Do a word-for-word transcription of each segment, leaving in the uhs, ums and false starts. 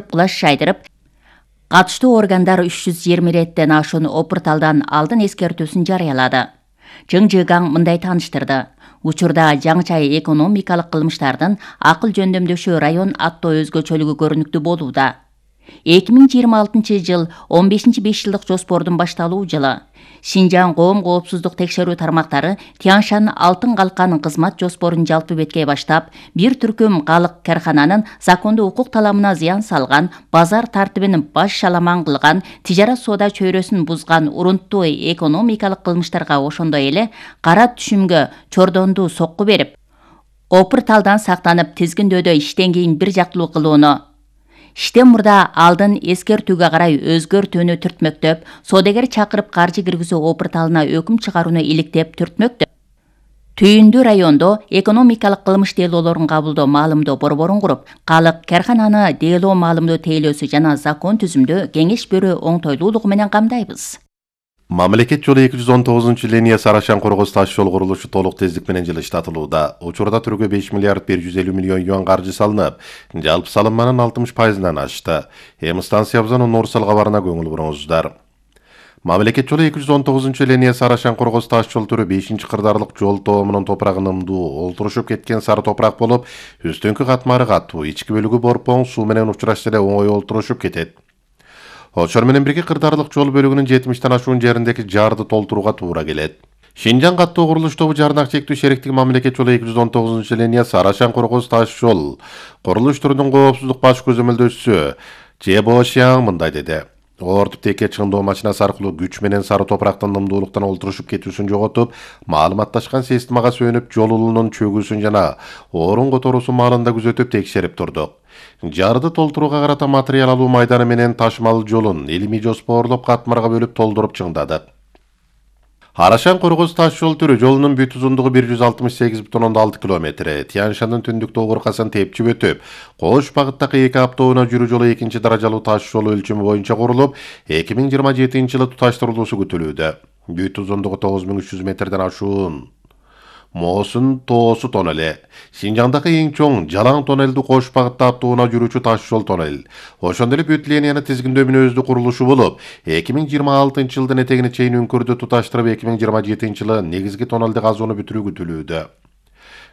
кылаш жайдырып, катыштуу органдар үч жүз жыйырма иреттен ашуун опурталдан алдын эскертүүсүн жарыялады. Чың Жыгаң мындай тааныштырды. Учурда жаңыча экономикалык кылмыштардын акыл жөндөмдөшү район аттоо өзгөчөлүгү көрүнүктүү болууда. эки миң жыйырма алтынчы жыл он бешинчи беш жылдык жоспордун башталуу жылы. Шинжаң коом коопсуздук текшерүү тармактары Тянь-Шань алтын калкан кызмат жоспорун жалпы беткей баштап, бир түркүм калык кархананын закондуу укук таламына зыян салган, базар тартибин баш шаламан кылган, тижарат соода чөйрөсүн бузган урунттуу экономикалык кылмыштарга ошондой эле кара түшүмгө чордондуу сокку берип, опурталдан сактанып тизгиндөөдө иштен кийин бир жактылуу кылууну, иштен мурда алдын эскертүүгө карай өзгөртүүнү түртмөктөп, соодагер чакырып каржы киргизүү опурталына өкүм чыгарууну иликтеп түртмөктөп. Түйүндүү райондо экономикалык кылмыш делоолорун кабылдоо маалымдоо борборун куруп, калык кархананы делоо маалымдоо тейлөөсү жана закон түзүмдө кеңеш берүү оңтойлуулугу менен камдайбыз. Мамлекет жолу эки жүз он тогузунчу линия Сарашан Коргоз таш жол курулушу толук тездик менен жылыштатылууда. Учурда түргө беш миллиард бир жүз элүү миллион юан каржы салынып, жалпы салынманын алтымыш пайызынан ашты. Эми станциябыздын универсал кабарына көңүл буруңуздар. Мамлекет жолу эки жүз он тогузунчу линия Сарашан Коргоз таш жол түрү бешинчи кырдаарлык жол тоомунун топурагын ымдуу, олтурушуп кеткен сары топурак болуп, үстүңкү катмары катуу, ички бөлүгү борпоң, суу менен учурашса эле оңой олтурушуп кетет. Ошол менен бирге кырдаарлык жол бөлүгүнүн жетимиштен ашуун жериндеги жарды толтурууга туура келет. Шинжаң каттоо курулуш тобу жарнак чектүү шериктиги мамлекет жолу эки жүз он тогузунчу линия Сарашан Коргоз таш жол курулуш түрүнүн коопсуздук баш көзөмөлдөөчүсү Че Бошяң мындай деди. Ортуп теке чыңдоо машинасы аркылуу күч менен сары топурактын ымдуулуктан олтурушуп кетүүсүн жоготуп, маалыматташкан системага сүйөнүп жол улунун чөгүүсүн жана орун которуусун маалында күзөтүп текшерип турдук. Жарды толтурууга карата материал алуу майданы менен ташмал жолун илимий жоспорлоп катмарга бөлүп толтуруп чыңдадык. Сарашан Коргоз таш жол түрү жолунун бүт узундугу бир жүз алтымыш сегиз бүтүн ондон алты километр. Тянь-Шаньдын түндүк тогуркасын тепчип өтүп, Кош багыттагы эки автоунаа жүрүү жолу экинчи даражалуу таш жолу өлчөмү боюнча курулуп, эки миң жыйырма жетинчи жылы туташтырылуусу күтүлүүдө. Бүт узундугу тогуз миң үч жүз метрден ашуун Мосун тоосу тоннели. Шинжаңдагы эң чоң жалаң тоннелди Кош багытта автоунаа жүрүүчү таш жол тоннел. Ошондой эле бүт линияны тизгиндөө мүнөздүү курулушу болуп, эки миң жыйырма алтынчы жылдын этегине чейин үңкүрдү туташтырып, эки миң жыйырма жетинчи жылы негизги тоннелди казууну бүтүрүү күтүлүүдө.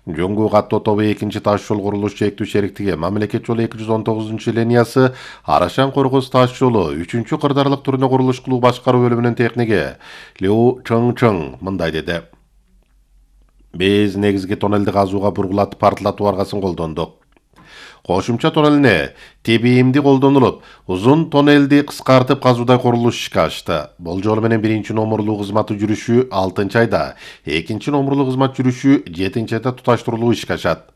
Жөнгүү каттоо тобу экинчи таш жол курулуш чектүү шериктиги мамлекет жолу эки жүз он тогузунчу линиясы Сарашан Коргоз таш жолу үчүнчү кырдаарлык түрүнө курулуш кылуу башкаруу бөлүмүнүн техниги Лю Чың Чың мындай деди. Биз негизги тоннелди казууга бургулатып партылатуу аргасын колдондук. Кошумча тоннелине тебиимди колдонулуп, узун тоннелди кыскартып казуудай курулуш ишке ашты. Бул жолу менен биринчи номурлуу кызматы жүрүшү алтынчы айда, экинчи номурлуу кызмат жүрүшү жетинчи айда туташтырылуу ишке ашат.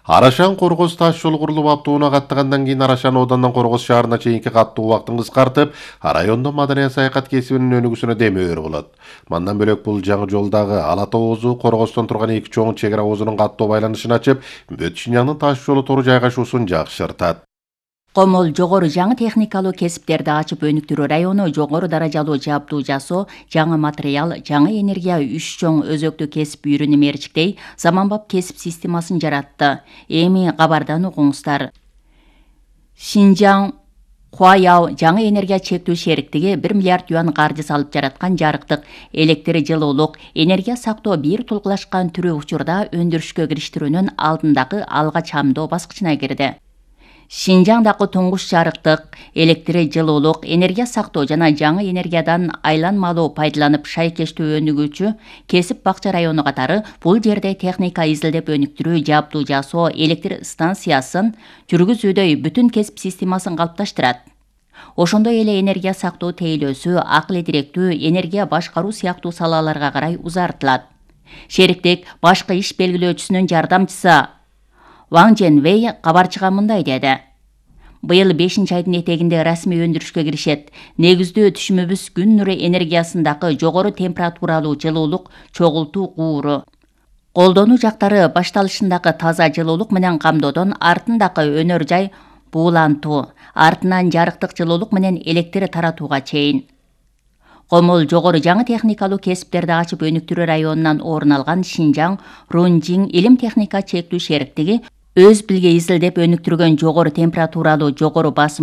Сарашан Коргоз таш жол курулуп автоунаа каттагандан кийин Сарашан одандан Коргоз шаарына чейинки каттуу убактын кыскартып, райондо маданий саякат кесибинин өнүгүүсүнө демөөр болот. Мандан бөлөк бул жаңы жолдагы Ала тоо оозу Коргоздон турган эки чоң чек ара оозунун каттоо байланышын ачып, бүт Шинжаңдын таш жолу тору жайгашуусун жакшыртат. Комол жогору жаңы техникалуу кесиптерди ачып өнүктүрүү району жогору даражалуу жабдуу жасоо, жаңы материал, жаңы энергия үч чоң өзөктүү кесип үйрөнүм мерчиктей заманбап кесип системасын жаратты. Эми кабардан угуңуздар. Шинжаң Хуаяо жаңы энергия чектүү шериктиги бир миллиард юан каржы салып жараткан жарыктык электр жылуулук энергия сактоо бир тулгулашкан түрү учурда өндүрүшкө кириштирүүнүн алдындагы алга чамдоо баскычына кирди. Шинжаңдагы туңгуш жарыктык электр жылуулук энергия сактоо жана жаңы энергиядан айланмалуу пайдаланып шайкештүү өнүгүүчү кесип бакча району катары бул жерде техника изилдеп өнүктүрүү, жабдуу жасоо, электр станциясын жүргүзүүдөй бүтүн кесип системасын калыпташтырат. Ошондой эле энергия сактоо тейлөөсү, акыл директүү, энергия башкаруу сыяктуу салаларга карай узартылат. Шериктик башкы иш белгилөөчүсүнүн жардамчысы Ван Женвей кабарчыга мындай деди. Быйыл бешинчи айдын этегинде расмий өндүрүшкө киришет. Негиздүү түшүмүбүз күн нуру энергиясындагы жогору температуралуу жылуулук чогултуу кууру. Колдонуу жактары башталышындагы таза жылуулук менен камдоодон артындагы өнөр жай буулантуу, артынан жарыктык жылуулук менен электр таратууга чейин. Комол жогору жаңы техникалуу кесиптерди ачып өнүктүрүү районунан орун алган Шинжаң Рунжиң илим техника чектүү шериктиги өз билге изилдеп өнүктүргөн жогору температуралуу жогору басым